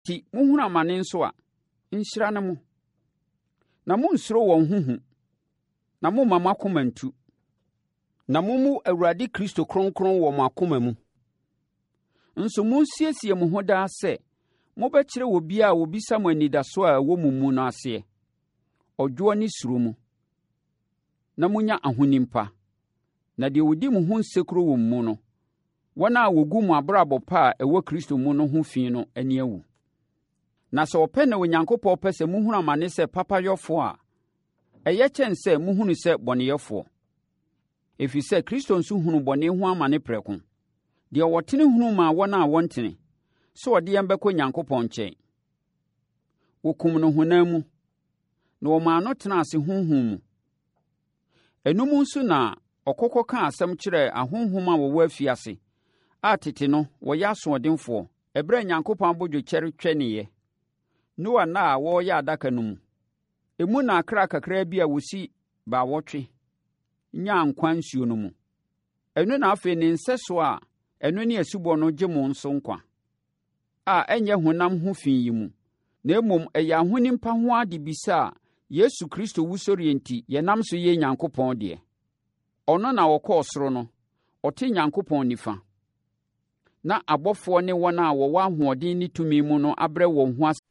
nti mohunu amane nso a, nhyira ne mo. Na monnsuro wɔn ho hu, na mommma mo akoma nntu. Na mommu Awurade Kristo kronkron wɔ mo akoma mu. Nso monsiesie mo ho daa sɛ mobɛkyerɛ obiara a ɔbisa mo anidasoɔ a ɛwɔ mo mu no aseɛ, ɔdwoɔ ne suro mu, na monya ahonim pa. Na deɛ ɔdi mo ho nsekuro wɔ mo mu no, wɔn a wɔgu mo abrabɔ pa a ɛwɔ Kristo mu no ho fi no ani awu. Na sɛ ɔpɛ na Onyankopɔn pɛ sɛ mohunu amane sɛ papayɔfoɔ a, ɛyɛ kyɛn sɛ mohunu sɛ bɔneyɛfoɔ. Ɛfiri sɛ Kristo nso hunuu bɔne ho amane prɛko, deɛ ɔtene hunu maa wɔn a wɔntene, sɛ ɔde yɛn bɛkɔ Nyankopɔn nkyɛn. Wɔkum no honam mu, na wɔmaa no tenaa ase honhom mu. Ɛno mu nso na ɔkɔ kɔkaa asɛm kyerɛɛ ahonhom a wɔwɔ afiase a tete no wɔyɛ asoɔdenfoɔ ɛberɛ a Nyankopɔn abodwokyɛre twɛneeɛ, Noa nna a wɔreyɛ adaka no mu. Emu na akra kakraa bi a wɔsi baawɔtwe nyaa nkwa nsuo no mu. Ɛno na afei ne nsɛsoɔ a ɛno ne asubɔ no gye mo nso nkwa, a ɛnyɛ honam ho fi yi mu, na mmom ɛyɛ ahonim pa ho adebisa a Yesu Kristo wusɔreɛ nti yɛnam so yɛ Nyankopɔn deɛ. Ɔno na ɔkɔɔ soro no, ɔte Nyankopɔn nifa, na abɔfoɔ ne wɔn a wɔwɔ ahoɔden ne tumi mu no abrɛ wɔn ho ase.